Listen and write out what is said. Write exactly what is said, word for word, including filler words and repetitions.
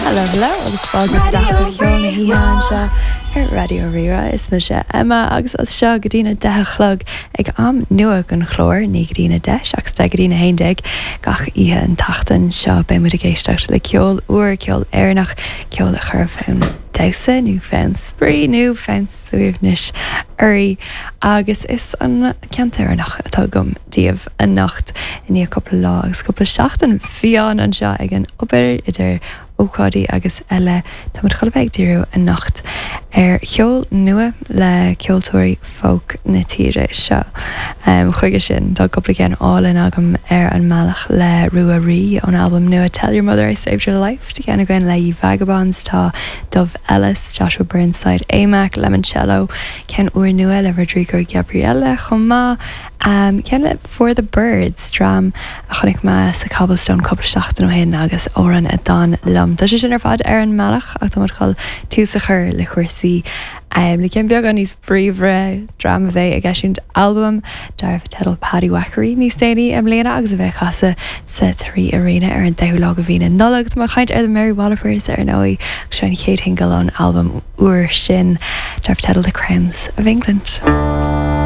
Hello hello agus fáilte isteach go Ceol na hOíche anseo ar Raidió Rí-Rá is mise Emma agus as seo go dtí a deich a chlog ag am nua den chlár ní go dtí a deich ach deich go dtí a haon déag gach oíche an tseachtain seo beidh muid ag éisteacht le ceol úr ceol Éireannach ceol a chuir fonn damhsa nó fonn spraoi nó fonn suaimhnis oraibh agus is an ceann Éireannach atá agam daoibh anocht i ndiaidh cúpla lá agus cúpla seachtain fiáin anseo ag an obair idir ócáidí agus eile Tá muid chun a bheith ag díriú anocht ar cheol nua le ceoltóirí folk na tíre seo. Um, chuige sin tá cúpla ceann álainn agam ar an mbealach le Rua Rí ón albam nua Tell Your Mother I Saved Her Life Tá ceann againn le Vagabonds tá Dove Ellis, Joshua Burnside, Amac, Lemoncello, ceann úr nua le Rodrigo Gabriela chomh maith um, ceann le For the Birds dream a chonaic mé sa Cobblestone cúpla seachtain ó shin agus amhrán a d'fhan liom. Tá sé sin ar fad ar an mbealach ach tá chun tús a chur le cúrsaí um, le ceann beagán níos bríomhaire dream a bheidh ag eisiúint albam darb teideal Paddywhackery níos déanaí i mbliana agus a bheidh ag casadh sa Three Arena ar an deichiú lá de mhí na Nollag Tá mé ag caint ar the Mary Wallopers ar ndóigh seo an chéad shingil ón albam úr sin darb teideal The Crowns of England.